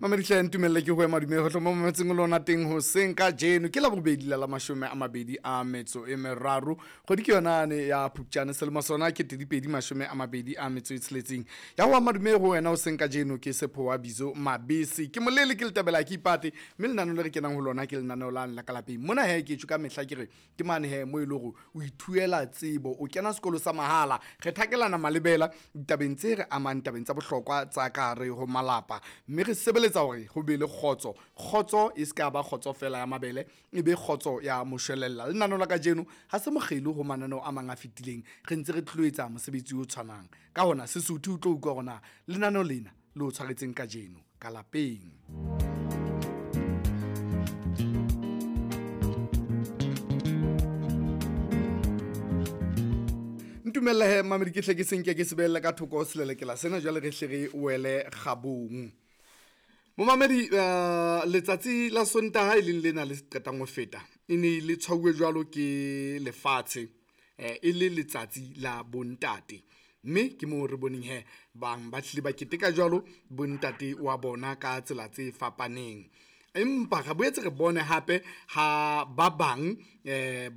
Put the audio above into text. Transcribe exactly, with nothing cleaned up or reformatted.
Mamedihle, ntumelle ke ho madume ho mo mametseng lona teng hoseng kajeno. Ke Labobedi la la mashome a mabedi a metso e meraro, kgwedi ke yona ne ya Phupjane, selemo sona ke pedi mashome a mabedi a metso e tsheletseng. Ya ho madume ho wena hoseng kajeno ke Sepho wa Bizo Mabese, ke molele ke letabela ke ipate, mme lenaneo le re kenang ho lona ke lenaneo la la ka lapeng mona. He ke tjho ka mehla ke re ke mane he mo e le hore o ithuela tsebo, o kena sekolo sa mahala, re thakelana malebela ditabeng tse re amang, tabeng tsa bohlokwa tsa ka hare ho malapa, mme re sebeletsa hore ho be le kgotso. Kgotso e se ka ba kgotso fela ya mabele, e be kgotso ya moshwelella. Lenaneo la kajeno ha se mokgelo ho mananeo a mang a fetileng, re ntse re tlo etsa mosebetsi o tshwanang. Ka hona Sesotho o tlo utlwa hore na lenaneo lena le o tshwaretseng kajeno ka lapeng. Ntumelle he mamedi ke hle ke senke ke sebelle ka thoko selelekela sena, jwale re hle re wele kgabong. Momamedi, uh, letsatsi la Sontaha e leng lena le qetang ho feta, e ne le tshwauwe jwalo ke lefatshe, eh, e le letsatsi la bontate, mme ke moo re boneng he bang ba hlile ba keteka jwalo bontate wa bona ka tsela tse fapaneng. Empa re boetse re bone hape ha ba bang eh